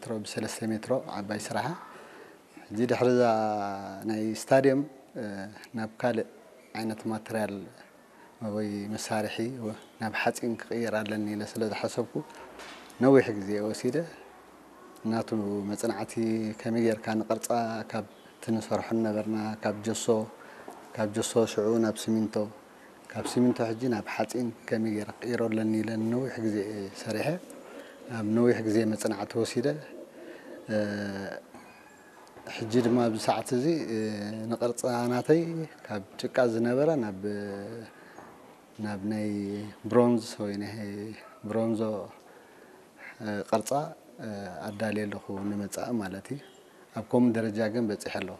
ሜትሮ ብሰለስተ ሜትሮ ዓባይ ስራሓ። ሕጂ ድሕሪ እዛ ናይ ስታድየም ናብ ካልእ ዓይነት ማተርያል ወይ መሳርሒ ናብ ሓፂን ክቕይር ኣለኒ ኢለ ስለ ዝሓሰብኩ ነዊሕ ግዜ ወሲደ። ናቱ መፅናዕቲ ከመይ ጌርካ ንቕርፃ ካብ እቲ ንሰርሖ ነበርና ካብ ጀሶ ካብ ጀሶ ሽዑ ናብ ስሚንቶ ካብ ስሚንቶ ሕጂ ናብ ሓፂን ከመይ ጌረ ክቕይሮ ኣለኒ ኢለ ነዊሕ ግዜ ሰሪሐ ኣብ ነዊሕ ግዜ መፅናዕቲ ወሲደ። ሕጂ ድማ ኣብዚ ሰዓት እዚ ንቕርፃ ናተይ ካብ ጭቃ ዝነበረ ናብ ናብ ናይ ብሮንዝ ወይ ናይ ብሮንዞ ቅርፃ ኣዳልየ ኣለኹ ንመፃኢ ማለት እዩ። ኣብ ከምኡ ደረጃ ግን በፂሐ ኣለኹ።